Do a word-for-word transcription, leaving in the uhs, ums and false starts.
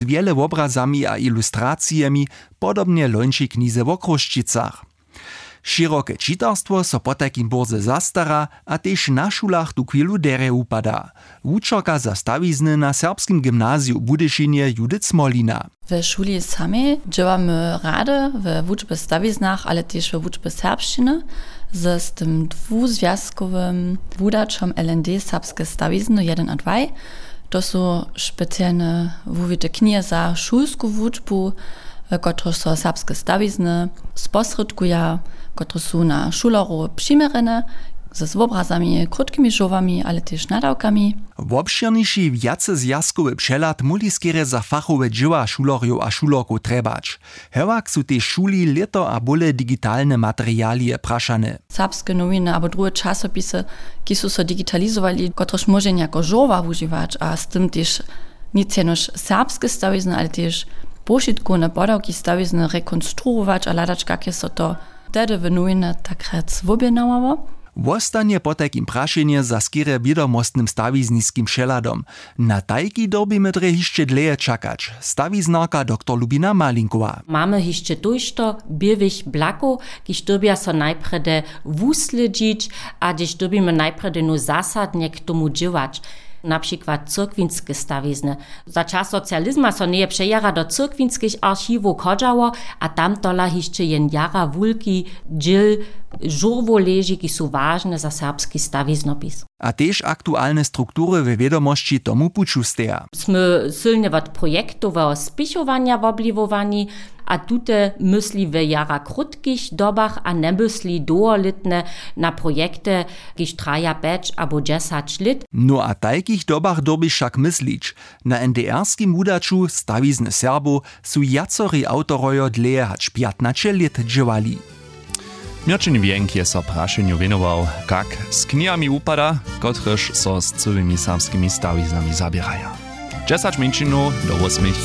wjele wobrazami a ilustracijemi, podobnje lońši knize wo Chrósćicach. Šěroke čitarstwo so potajkim bórze zastara a tež na šulach tuchwilu derje wupada. Wučerka za stawizny na serbskim gymnaziju w Budyšinje Judith Smolina. We šuli samej dźěłamy rady we wučbje w stawiznach, ale tež we wučbje serbšćiny, z tym dwuzwjazkowym wudaćom L N D serbske stawizny jedyn a dwaj. To su specialne wuwite knihe za šulsku wučbu, w kotrychž so serbske stawizny sposrědkuja, kotrež su na šulerow přiměrjene, z wobrazami, krótkimi žurłami, ale tež nadawkami. Wobšěrniši wjacezwjazkowy přehlad móhli skerje za fachowe dźěła šulerjow a šulerkow trjebać. Hewak su tež šuli lěto a bóle digitalne materialije prašane. Serbske nowiny abo druhe časopisy, kiž su so digitalizowali, kotrež móže njako žurła wužiwać a z tym tež nic jenož serbske stawizny, ale tež powšitkowne podawki stawizny rekonstruować a hladać, kak je so to tehdy w nowinach tak rjac wobjednawało. Wostanje potajkim prašenje za skerje wědomostnym stawizniskim přehladom. Na tajki dyrbimy drje hišće dlěje čakać, stawiznarka doktor Lubina Malinkowa. Mamy hišće tójšto běłych blakow, kiž dyrbja so najprjedy wuslědźić a hdyž dyrbimy najprjedy nu zasadnje k tomu dźěłać. Na přikład cyrkwinske stawizny. Za čas socializma so njeje přejara do cyrkwinskich archiwow chodźało a tam tola hišće jen jara wulki dźěl žurłow leži, kiž su wažne za serbski stawiznopis. A tež aktualne struktury we wědomosći tomu puću steja. Smy sylnje wot projektoweho spěchowanja wobliwowani a tute mysli w jara krótkich dobach a njemysli dołholětnje na projekty, kiž traja pjeć abo dźesać lět. No a tajkich dobach dyrbi wšak myslić. Na N D R-skim wudaću Stawizny Serbow su wjacori awtorojo dlěje hač pjatnaće lět dźěłali. Měrćin Wjenk je so prašenju wěnował, kak z knihami wupada, kotrež so z cyłymi serbskimi stawiznami zaběraja. Dźesać mjeńšinow do wósmich.